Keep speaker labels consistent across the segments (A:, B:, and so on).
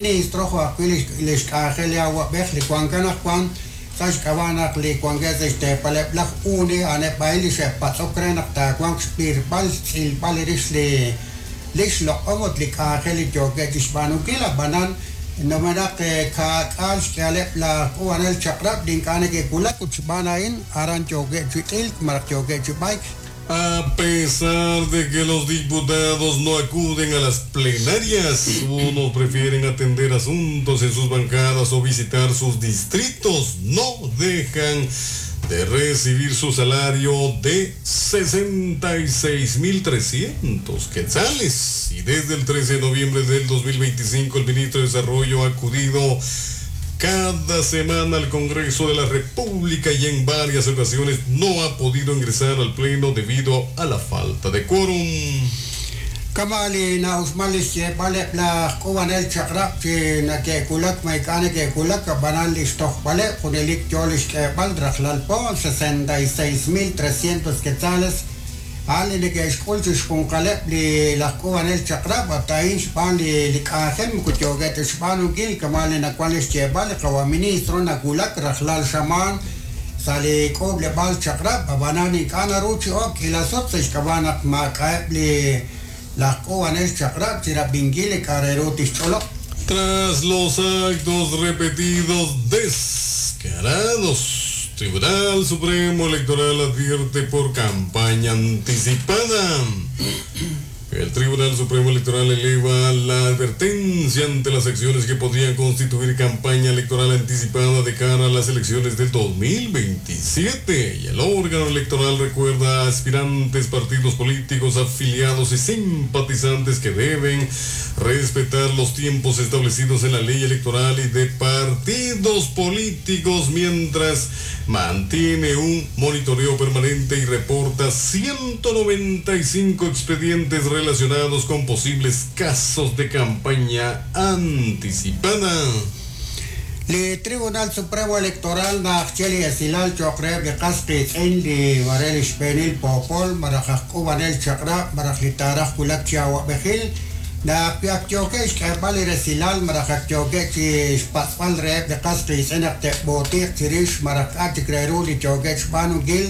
A: Ministro jo' ajwi' li xk'anjel li awa'b'ej li wank anaqwan sa' xk'ab'a' naq li wankeb' sa' xteepaleb' laj UNE a'aneb' a'in li xe'patz'ok re naq taawanq xb'irb'al xtz'ilb'al rix li li xloq'om ut li k'anjel li yookeb' chi xb'aanunkil ab'anan numenaq ka'k'aal xk'ihaleb' laj k'uub'anel chaq'rab' li ink'a' neke'wulak ut xb'aan a'in aran yookeb' chi t'ilk malaj yookeb' chi b'ayk.
B: A pesar de que los diputados no acuden a las plenarias, unos prefieren atender asuntos en sus bancadas o visitar sus distritos, no dejan de recibir su salario de 66.300 quetzales. Y desde el 13 de noviembre del 2025 el ministro de Desarrollo ha acudido cada semana al Congreso de la República y en varias ocasiones no ha podido ingresar al Pleno debido a la falta de quórum.
A: Kama' li na'uxman li xyeeb'al eb' laj k'uub'anel chaq'rab' chi nake'wulak ma ink'a' neke'wulak, ab'anan li xtojb'aleb' junelik yo li xk'eeb'al rajlal po, 66,300 quetzales, a'an li neke'xk'ul chi xjunqaleb' li laj k'uub'anel chaq'rab', ut a'in xb'aan li li k'anjel moko yookeb' ta xb'aanunkil kama' li nawan li xyeeb'al li qawa' ministro nawulak rajlal xamaan sa' li k'uub'leb'aal chaq'rab', ab'anan ink'a' naru chi ok k'iila sut sa' xk'ab'a' naq maak'a'eb' li laj k'uub'anel chaq'rab' chi rab'inkil li k'a' re ru tixch'olob'.
B: Tras los actos repetidos descarados, Tribunal Supremo Electoral advierte por campaña anticipada. El Tribunal Supremo Electoral eleva la advertencia ante las acciones que podrían constituir campaña electoral anticipada de cara a las elecciones del 2027. Y el órgano electoral recuerda a aspirantes, partidos políticos, afiliados y simpatizantes que deben respetar los tiempos establecidos en la ley electoral y de partidos políticos mientras mantiene un monitoreo permanente y reporta 195 expedientes relacionados con posibles casos de campaña anticipada.
A: Li Tribunal Supremo Electoral naj che li esilal cho'q reheb' li qas qiitz'in li mare li xb'eenil poopol malaj aj k'uub'anel chaq'rab' malaj li taaraj wulak chi awa'b'ejil naq wi ak yookeb' xk'eeb'al li resilal malaj ak yookeb' chi xpatz'b'al reheb' li qas qiitz'in naq te'b'ootiiq chirix malaj k'a' chik re ru li yookeb' xb'aanunkil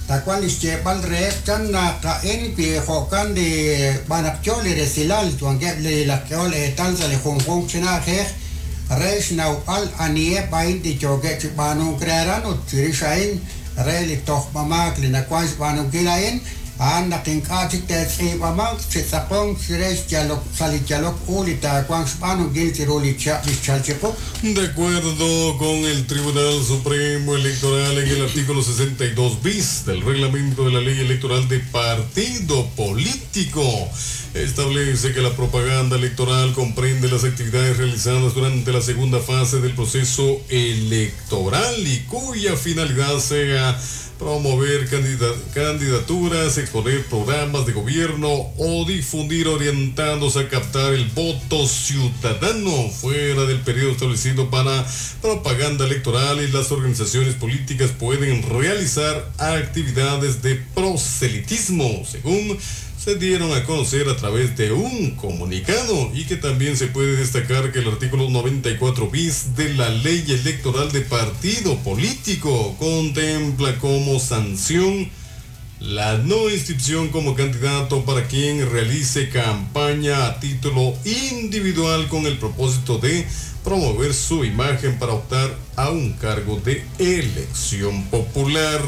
A: tawanq li xyeeb'al reheb' chan naq a'in wi jo'kan li xb'aan naq yo li resilal wankeb' li laj k'ehol eetal sa' li junjunq chi na'ajej re xnawb'al aniheb' a'in li yookeb' chi b'aanunk re aran ut chirix a'in re li tojb'amaak li nawank xb'aanunkil a'in a'an naq ink'a' chik te'tz'iib'amanq chi tz'aqonk chire xyalok sa' li yalok u li taawanq xb'aanunkil chiru li chihab' li xchalk chiqu.
B: De acuerdo con el Tribunal Supremo Electoral en el artículo 62 bis del reglamento de la Ley Electoral de Partido Político, establece que la propaganda electoral comprende las actividades realizadas durante la segunda fase del proceso electoral y cuya finalidad sea promover candidaturas, exponer programas de gobierno o difundir orientados a captar el voto ciudadano fuera del periodo establecido para propaganda electoral, y las organizaciones políticas pueden realizar actividades de proselitismo, según se dieron a conocer a través de un comunicado, y que también se puede destacar que el artículo 94 bis de la Ley Electoral de Partido Político contempla como sanción la no inscripción como candidato para quien realice campaña a título individual con el propósito de promover su imagen para optar a un cargo de elección popular.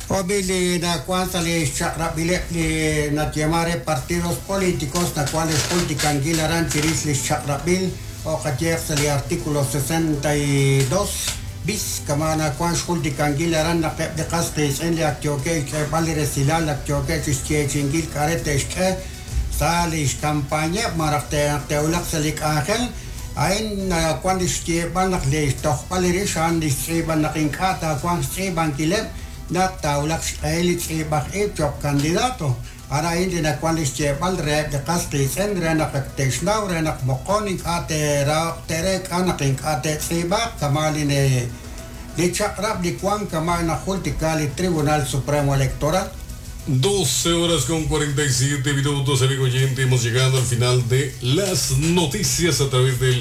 A: Jo'wi' li nawank sa' li xchaq'rab'ileb' li nayeeman re partidos políticos nawank li xjultikankil aran chirix li xchaq'rab'il jo' qayeeq sa' li artículo 62 bis kama' nawank xjultikankil aran naq eb' li qas qiitz'in li ak yookeb' xk'eeb'al li resilal ak yookeb' chi xyeechi'inkil k'a' re te'xk'e sa' li xkampañeb' malaj naq te'wulaq sa' li k'anjel a'in nawank li xyeeb'al naq li xtojb'al li rix a'an li xtz'iib'an naq ink'a' taawanq xtz'iib'ankileb' naq taawulaq xq'ehil li tz'iib'aj ib' cho'q candidato. A'an a'in li nawank li xyeeb'al reheb' li qas qiitz'in re naq ak te'xnaw re naq moqon ink'a' te'raho'q te'reek'a naq ink'a' te'tz'iib'aaq kama' li li chaq'rab' li wank kama' najultika li Tribunal Supremo Electoral.
B: 12 horas con 47 minutos, amigo oyente. Hemos llegado al final de las noticias a través del